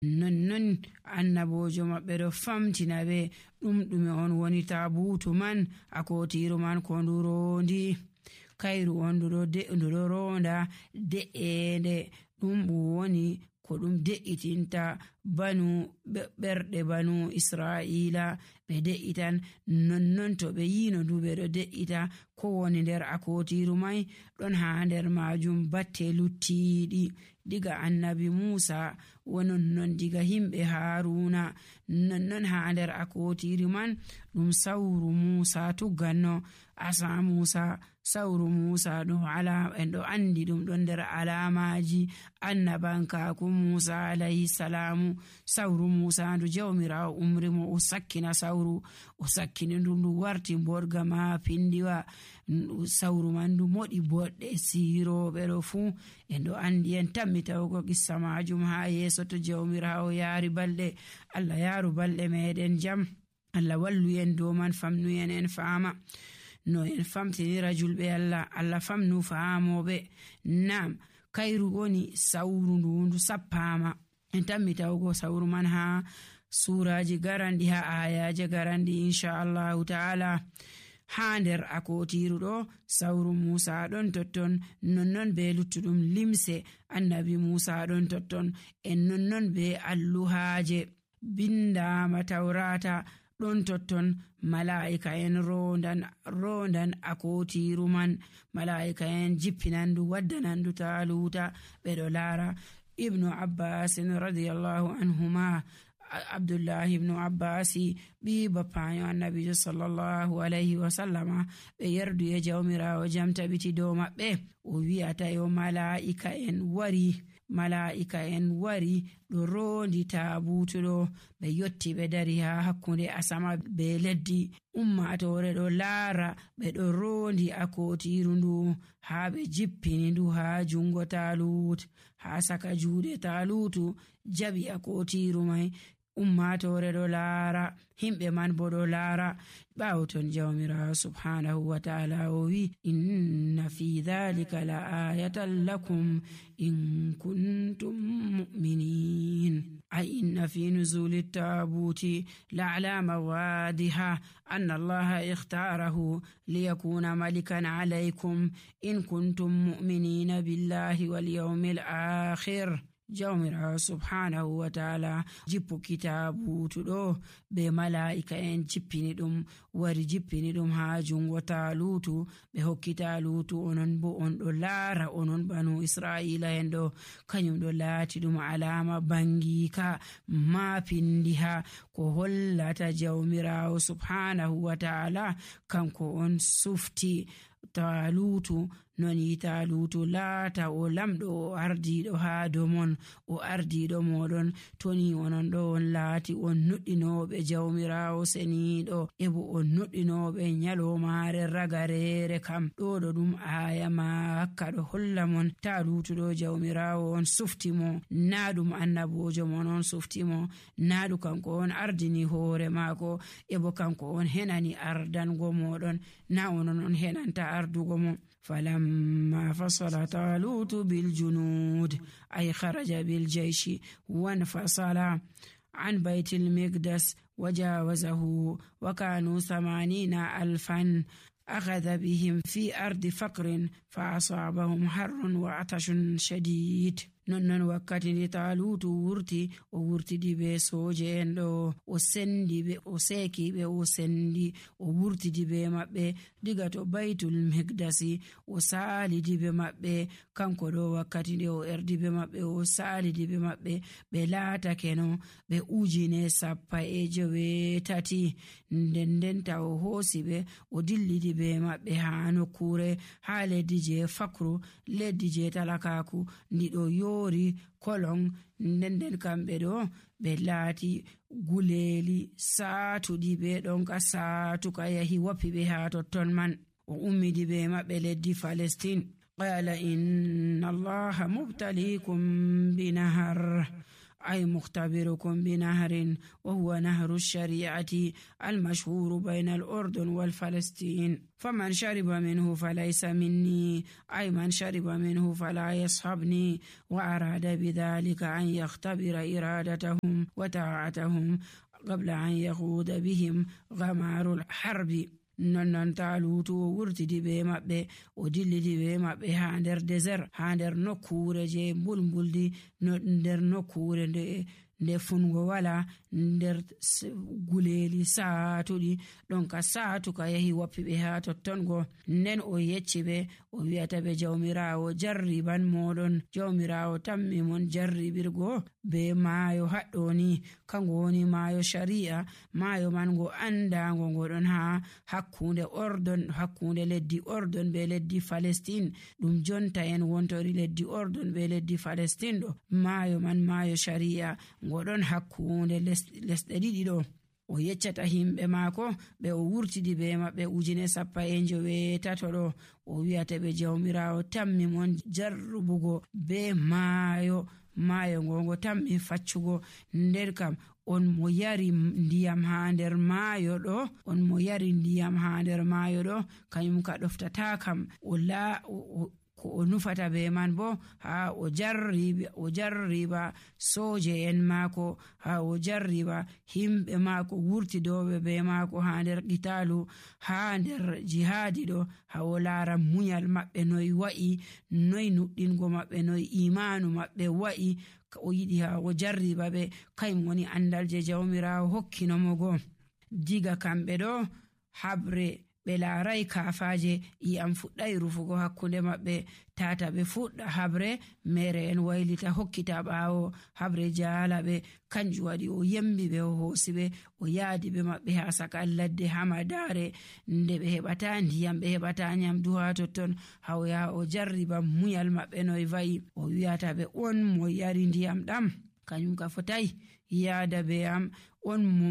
nonnon annabojo maɓɓe ɗo famtina ɓe ɗume on woni tabutu man. akotiru man ko ndu rondi kayru on ndu ɗo ronda de'ende ɗum woni ko ɗum de'itinta banu ɓerɗe banu Isra'ila ɓe de'itan. nonnon to ɓe yino ndu ɓe ɗo de'ita ko woni nder akotiru mai ɗon ha nder majum batte luttiɗi diga annabi Musa wononnon diga himɓe Haruna. nonnon ha nder akotiri man ɗum sauru Musa tugganno asa Musa. sauru Musa ɗo en ɗo andi ɗum ɗon nder alamaji annabankaku Musa alayhi salamu. sauru Musa ndu jawmirawo umri mo o sakkina sauru o sakkini ndu warti bodga ma pindiwa. sauru man ndu moɗi boɗɗe siroɓe ɗo fu en ɗo andi en tammi tawugo qissa majum ha yeso to jawmirawo yaari balɗe. Allah yaaru balɗe meɗen jam. Allah wallu en dow man famnuyen en faama no en famtinira julɓe Allah famnu faamoɓe. nam kayru woni sauru ndu sappama en tammi tawugo sauru man ha suraji garandi ha ayaje garandi inchallahu ta'ala. ha nder akotiru ɗo sauru Musa ɗon totton nonnon be luttuɗum limse annabi Musa ɗon totton en nonnon be alluhaje bindama tawrata ɗon totton. mala'ika en rondan akotiru man. mala'ika en jippinandu waddanandu taluta ɓe ɗo laara. ibnu Abbas radiyallahu anhuma Abdullahi ibnu Abbasi ɓi bappayo annabijo sallallahu alayhi wa sallama ɓe yerdu e jawmirawo jam tabiti dow maɓɓe o wi'ata yo mala'ika en wari ɗo rondi tabutu ɗo ɓe yotti ɓe dari ha hakkunde asama be leddi. ummatore ɗo laara ɓe ɗo rondi akotiru ndu ha ɓe jippini ndu ha jungo Talut. ha saka juuɗe Talutu jaɓi akotiru mai. ummatore ɗo laara himɓe man bo ɗo laara. ɓawo ton jawmirawo subhanahu wa ta'ala o wi inna fi dhalika la ayatan lakum in kuntum mu'minin. ay inna fi nuzuli tabuti la alama wadiha anna allaha ikhtarahu liyakuna malikan alaykum in kuntum mu'minina billahi wal yawmil akhir. jawmirawo subhanahu wa ta'ala jippu kitabutu ɗo be mala'ika en jippini ɗum wari jippini ɗum ha jungo Talutu ɓe hokki Talutu onon bo on ɗo laara onon banu Isra'ila en ɗo kanyum ɗo laati ɗum alama bangika ma pindiha ko hollata jawmirawo subhanahu wa ta'ala kanko on sufti Talutu noni Talutu laata o lamɗo o ardiɗo ha domon o ardiɗo moɗon toni onon ɗo on laati on nuɗɗinoɓe jawmirawo seniɗo ebo on nuɗɗinoɓe nyalomare ragarere kam. ɗo ɗum aya makka ɗo holla mon Talutu ɗo jawmirawo on sufti mo na ɗum annabojo mon on sufti mo na ɗum kanko on ardini hoore mako ebo kanko on henani ardango moɗon na onon on henanta ardugo mo. فلما فصل طالوت بالجنود أي خرج بالجيش وانفصل عن بيت المقدس وجاوزه وكانوا 80,000 أخذ بهم في أرض فقر فأصابهم حر وعطش شديد. nonnon wakkati ndi Talutu o wurtidi be soje en ɗo o sendi ɓe o seki ɓe o sendi o wurtidi be maɓɓe diga to Baitul Miqdasi o salidi be maɓɓe kanko ɗo wakkati nde o erdi be maɓɓe o salidi be maɓɓe ɓe laatake no ɓe 1,080 nden taw o hoosi ɓe o dillidi be maɓɓe ha nokkure ha leddi je Fakru leddi je talakaku ndiɗo yori kolon nden kamɓe ɗo ɓe laati guleli saatuɗi ɓe ɗon ka saatuka yahi woppi ɓe ha totton man o ummidi be maɓɓe leddi Palestine. qala inna allaha mubtalikum binahar أي مختبركم بنهر وهو نهر الشريعة المشهور بين الأردن والفلسطين، فمن شرب منه فليس مني، أي من شرب منه فلا يصحبني. وأراد بذلك أن يختبر إرادتهم وطاعتهم قبل أن يخوض بهم غمار الحرب. non Taaluutu o wurtidi be maɓɓe o dillidi be maɓɓe haa nder désert, haa nder nokkuure je mbulmbuldi, nder nokkuure nde fungo wala, nder guleeli saatuɗi ɗon ka saatuka yahi woppiɓe haa tottongo. Nden o yecci ɓe o wi'ata ɓe jawmiraawo jarriban moɗon, jawmiraawo tammi mon jarribirgo be maayo haɗɗoni, kango woni maayo shari'a. Maayo man ngo andaango ngo ɗon haa hakkunde Ordon, hakkunde leddi Ordon be leddi Palestine, ɗum jonta en wontori leddi Ordon be leddi Palestine ɗo. Maayo man maayo shari'a ngo ɗon hakkunde lesɗe ɗiɗi ɗo. O yeccata himɓe maako ɓe o wurtidi be maɓɓe 1,900 ɗo. O wi'ata ɓe jawmiraawo tammi mon jarrubugo be maayo ngo tammi faccugo. Nder kam on mo yari ndiyam haa nder maayo ɗo, on mo yari ndiyam haa nder maayo ɗo, kanyum ka ɗoftata kam ko o nufata be man bo ha o jarriba soje en maako, ha o jarriba himɓe maako wurtidoɓe be maako ha nder qitalu, ha nder jihadi ɗo, ha o laara munyal maɓɓe noy wa'i, noy nuɗɗingo maɓɓe, noy imanu maɓɓe wa'i. O yiɗi ha o jarriba ɓe, kayum woni andal je jawmirawo hokkinomo go. Diga kamɓe ɗo habre ɓe laarai kaafaje, iyam fuɗɗai rufugo hakkunde maɓɓe. Tata ɓe fuɗɗa habre, mere en waylita hokkita ɓaawo, habre jaala ɓe. Kanjum waɗi o yembi ɓe, o hoosi ɓe, o yaadi ɓe maɓɓe haa saka ladde hamadare, nde ɓe heɓata ndiyam, ɓe heɓata nyamdu haa totton. Ha o yaha o jarriba munyal maɓɓe noy va'i. O wi'ata ɓe, on mo yari ndiyam ɗam kanyum ka fotai yaada be am, on mo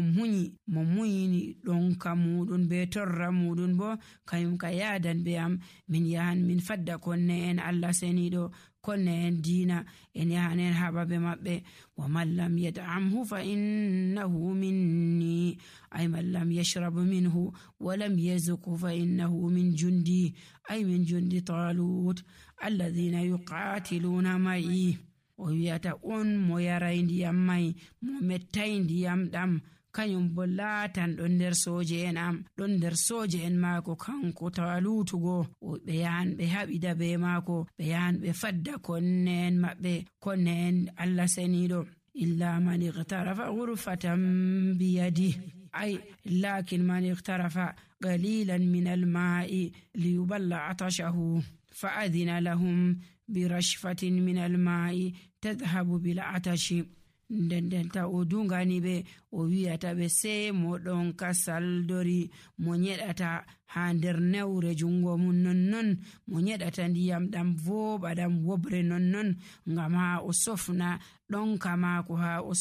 munyini ɗonka muɗum be torra muɗum bo kayum ka yaadan be am. Min yahan min fadda konne en Allah seniɗo, konne en diina, en yahan en haɓa be maɓɓe. Wa man lam yad'amhu fa innahu minni, ay man lam yashrab minhu wa lam yazqhu fa innahu min jundi, ay min jundi Talut alladhina yuqatiluna ma'i. O wi'ata on mo yarai ndiyam mai, mo mettai ndiyam ɗam, kanyum bo laatan ɗon nder soje en am, ɗon nder soje en maako kanko Talutugo. Ɓe yahan ɓe haɓida be maako, ɓe yahan ɓe fadda konne en maɓɓe, konne en Allah seniɗo. Illa man iqtarafa ghurfatan biyadi, ay lakin man iqtarafa qalilan min al-ma'i liyuballa atashahu fa adhina lahum birashfatin min al-ma'i tadhhabu bil atashi. Ndendenta o dungani ɓe, o wi'ata ɓe sei mo ɗon ka saldori mo nyeɗata ha nder newre jungo mum, nonnon mo nyeɗata ndiyam ɗam voɓa ɗam wobre nonnon, ngam ha o sofna ɗonka maako, ha o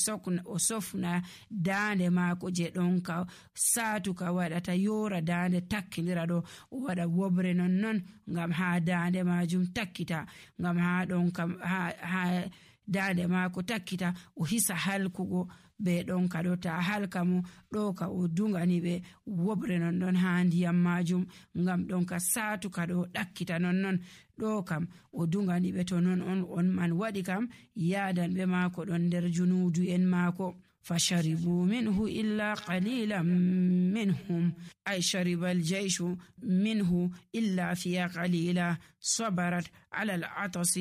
sofna dande maako je ɗonka saatuka waɗata yora dande takkindira ɗo, o waɗa wobre nonnon ngam ha dande majum takkita, ngam ha ɗonka ha dande maako takkita, o hisa halkugo be ɗonka ɗo. Ta halka mo ɗo ka o dungani ɓe wobre nonnon ha ndiyam majum, ngam ɗonka saatuka ɗo ɗakkita nonnon. Ɗo kam o dungani ɓe, to non on man waɗi kam yaadan ɓe maako ɗon nder junudu en maako. فشربوا منه إلا قليلا منهم، أي شرب الجيش منه إلا فيها قليلا صبرت على العطس.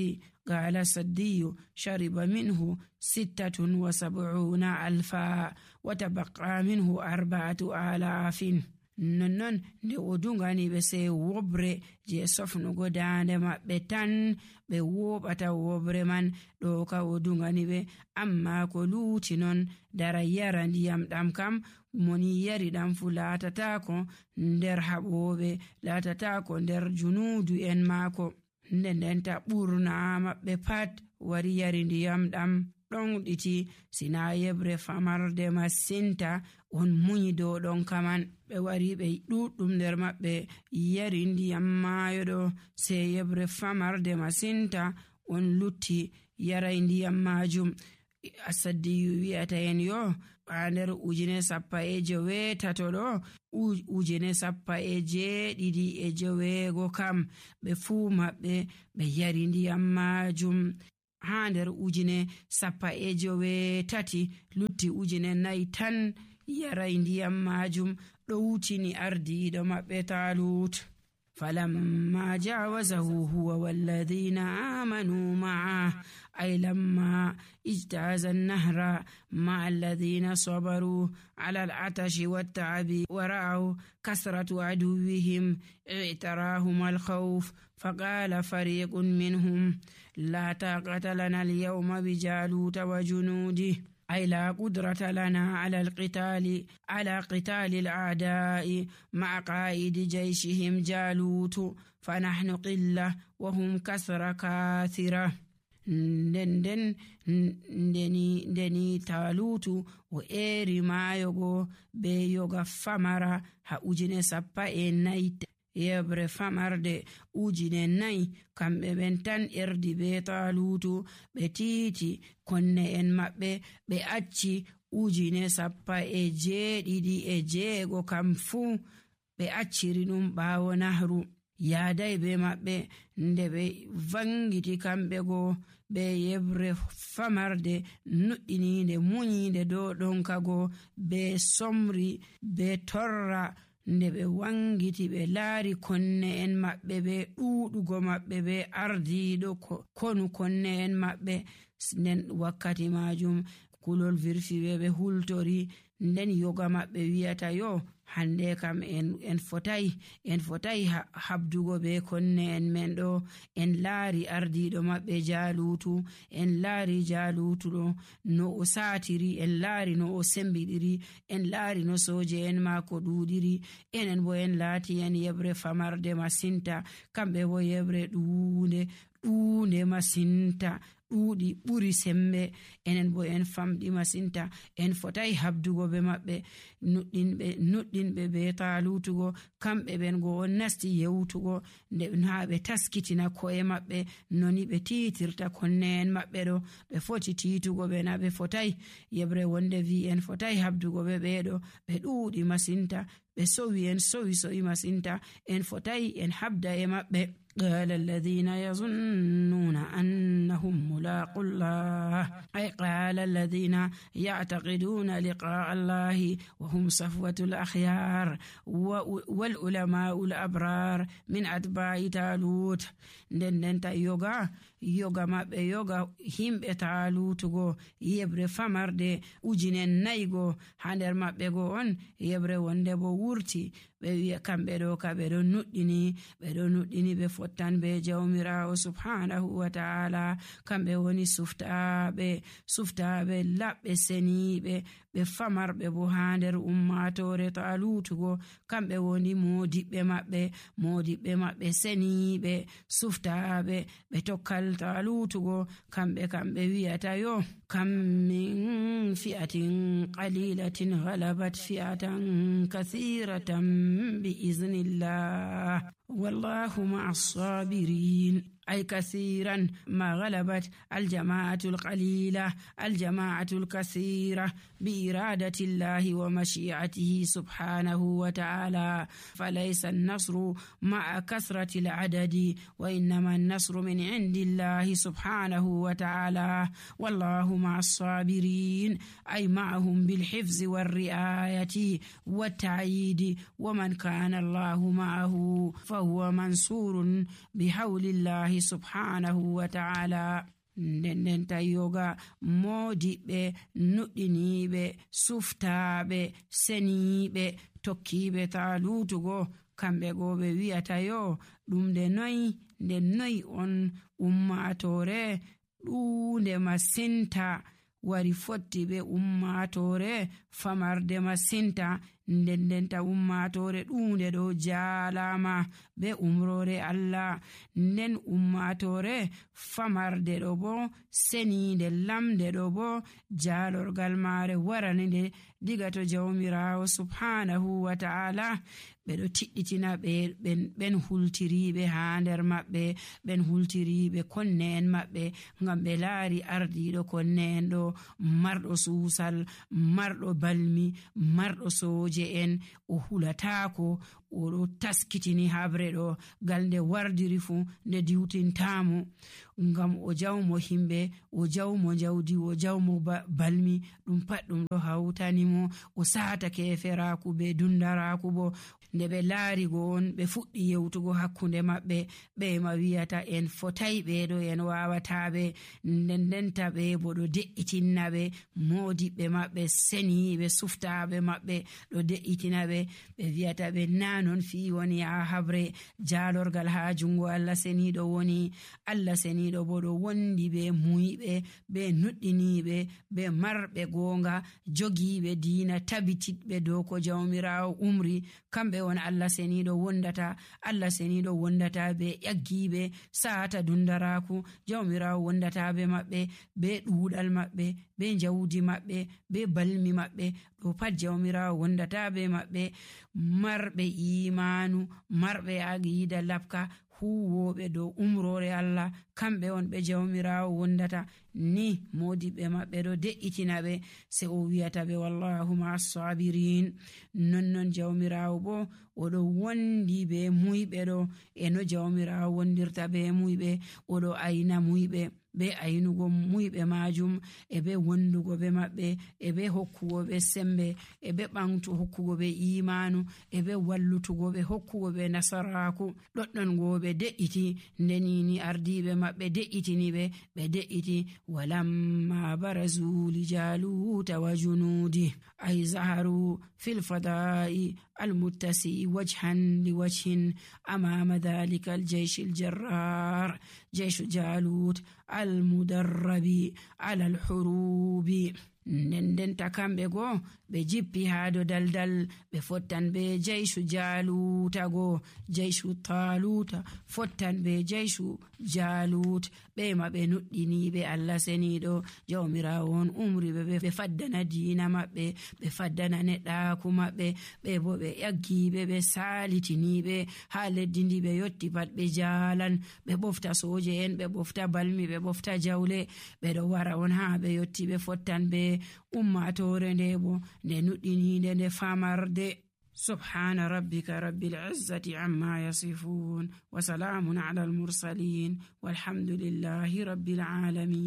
قال السدي شرب منه 76,000 وتبقى منه 4,000. nonnon nde o dungani ɓe sei wobre je sofnugo dande maɓɓe tan ɓe woɓata wobre man, ɗo ka o dungani ɓe. Amma ko luuti non dara yara ndiyam ɗam kam, moni yari ɗam fu laatatako nder haɓoɓe, laatatako nder junudu en maako. Ndendenta ɓurna maɓɓe pat wari yari ndiyam ɗam ɗon ɗiti, sina yebre famarde masinta on munyi dow ɗon kaman. Ɓe wari ɓe ɗuɗɗum nder maɓɓe yari ndiyam maayo ɗo, sei yebre famarde masinta on lutti yarai ndiyam majum. Asaddiyu wi'ata en yo ha nder 1970 ɗo 1970 kam ɓe fuu maɓɓe ɓe yari ndiyam majum. Ha nder 1930 lutti 4 tan yarai ndiyam majum ɗo wutini ardiɗo maɓɓe Talut. فلما جاوزه هو والذين آمنوا معه أي لما اجتاز النهر مع الذين صبروا على العطش والتعب ورأوا كثرة عدوهم اعتراهم الخوف فقال فريق منهم لا طاقة لنا اليوم بجالوت وجنوده أي لا قدرة لنا على قتال الأعداء مع قائد جيشهم جالوت فنحن قلة وهم كثرة كاثرة. ndeni Talutu o eri mayogo be yoga famara ha 14 yebre famarde 4 kamɓe ɓen tan erdi be Talutu ɓe tiiti konne en maɓɓe ɓe acci 17,600 kam fuu ɓe acciri ɗum ɓaawo nahru yaadai be maɓɓe nde ɓe vangiti kamɓe go be yebre famarde nuɗɗininde muñinde dow ɗonkago be somri be torra nde ɓe wangiti ɓe laari konne en maɓɓe be ɗuɗugo maɓɓe be ardiɗo konu konne en maɓɓe. Nden wakkati majum kulol virfiɓe ɓe hultori nden yoga maɓɓe wi'ata yo hande kam en fotai habdugo be konne en men ɗo. En laari ardiɗo maɓɓe Jalutu, en laari Jalutu ɗo no o satiri, en laari no o sembiɗiri, en laari no soje en mako ɗuɗiri, enen bo en laati en yebre famarde masinta, kamɓe bo yebre ɗuunde masinta ɗuuɗi ɓuri sembe, enen bo en famɗi masinta, en fotai habdugo be maɓɓe. nuɗɗinɓe be Talutugo kamɓe ɓen go on nasti yewtugo nde ha ɓe taskitina ko'e maɓɓe noni ɓe tiitirta konne en maɓɓe ɗo. ɓe foti tiitugo ɓe na ɓe fotai. yebre wonde vi en fotai habdugo ɓe ɓeɗo, ɓe ɗuuɗi masinta, ɓe sowi masinta, en fotai en habda e maɓɓe. قال الذين يظنون أنهم ملاقو الله أي قال الذين يعتقدون لقاء الله وهم صفوة الأخيار والعلماء الأبرار من أتباع تالوت. ndenta yoga maɓɓe yoga himɓe Talutugo yebre famarde 4,000 ha nder maɓɓe go on yebre wonde bo wurti. ɓe wi'a kamɓe ɗo ka ɓe ɗo nuɗɗini ɓe fottan be jawmirawo subhanahu wa ta'ala. kamɓe woni suftaɓe laɓɓe seniɓe ɓe famarɓe bo ha nder ummatore Talutugo. kamɓe woni modiɓɓe maɓɓe seniɓe suftaɓe ɓe tokkal Talutugo. kamɓe wi'ata yo kam min fi'atin qalilatin ghalabat fi'atan kathiratan بإذن الله والله مع الصابرين. أي كثيرا ما غلبت الجماعة القليلة الجماعة الكثيرة بإرادة الله ومشيئته سبحانه وتعالى. فليس النصر مع كثرة العدد وإنما النصر من عند الله سبحانه وتعالى والله مع الصابرين أي معهم بالحفظ والرعاية والتعييد ومن كان الله معه فهو منصور بحول الله subhanahu wa ta'ala. ndenta yoga modiɓɓe nuɗɗiniɓe suftaɓe seniɓe tokkiɓe Talutugo kamɓe go ɓe wi'ata yo ɗum nde noyi on ummatore ɗuunde masinta wari fotti be ummatore famarde masinta. ndenta ummatore ɗuunde ɗo jaalama be umrore Allah, nden ummatore famarde ɗo bo seninde lamde ɗo bo jaalorgal mare waranide diga to jawmirawo subhanahu wa ta'ala. ɓe ɗo tiɗɗitina ɓen hultiriɓe ha nder maɓɓe, ɓen hultiriɓe konne en maɓɓe, ngam ɓe laari ardiɗo konne en ɗo marɗo suusal, marɗo balmi, marɗo soje en, o hulatako, oɗo taskitini habre ɗo ngal nde wardiri fu nde diwtintamo, ngam o jawmo himɓe, o jawmo jawdi, o jawmo balmi, ɗum pat ɗum ɗo hawtanimo. O satake feraku be dundaraku bo. Nde ɓe laari go on ɓe fuɗɗi yewtugo hakkunde maɓɓe, ɓe ma wiyata en fotai ɓeɗo, en wawata ɓe, ndendenta ɓe bo ɗo de'itinna ɓe, modiɓɓe maɓɓe, seniɓe, suftaɓe maɓɓe ɗo de'itina ɓe, ɓe wiyata ɓe na non fi woni ha habre, jalorgal ha jungo Allah seniɗo woni. Allah seniɗo bo ɗo wondi be muyɓe, be nuɗɗiniɓe, be marɓe gonga, jogiɓe diina, tabitiɓe dow ko jawmirawo umri. Kamɓe on Allah seniɗo wondata. Allah seniɗo wondata be ƴaggiɓe sata dundaraku. Jawmirawo wondata be maɓɓe, be ɗuɗal maɓɓe, be jawdi maɓɓe, be balmi maɓɓe, ɗo pat jawmirawo wondata be maɓɓe. Marɓe imanu, marɓe aqida labka, huwoɓe dow umrore Allah, kamɓe on ɓe jawmirawo wondata. Ni modiɓɓe maɓɓe ɗo de'itina ɓe, se o wiyata ɓe wallahu ma sabirin. Nonnon jawmirawo bo oɗo wondi be muyɓe ɗo, e no jawmirawo wondirta be muyɓe, oɗo ayna muyɓe be aynugo muyɓe majum, e be wondugo be maɓɓe, e be hokkugo be sembe, e be ɓantu hokkugo be imanu, e be wallutugo be hokkugo be nasaraku. ɗoɗɗon go ɓe de'iti, ndenini ardiɓe maɓɓe de'itini ɓe de'iti. walamma barazu li jaluta wa junudi ay zaharu fil fada'i المتسي وجها لوجه أمام ذلك الجيش الجرار جيش جالوت المدرب على الحروب. ndendenta kamɓe go ɓe jippi ha do daldal, ɓe fottan be jeyshu jaluta go, jeyshu taluta fottan be jeyshu jalut. ɓe ma ɓe nuɗɗiniɓe Allah seniɗo, jawmirawo on umri ɓe faddana diina maɓɓe, ɓe faddana neɗɗaku maɓɓe, ɓe bo ɓe ƴaggiɓe, ɓe salitiniɓe ha leddi ndi ɓe yotti pat ɓe jalan, ɓe ɓofta soje en, ɓe ɓofta balmi, ɓe ɓofta jawle, ɓe ɗo wara on ha ɓe yotti ɓe fottan be ummatore nde bo nde nuɗɗininde nde famarde. سبحان ربك رب العزة عما يصفون وسلام على المرسلين والحمد لله رب العالمين.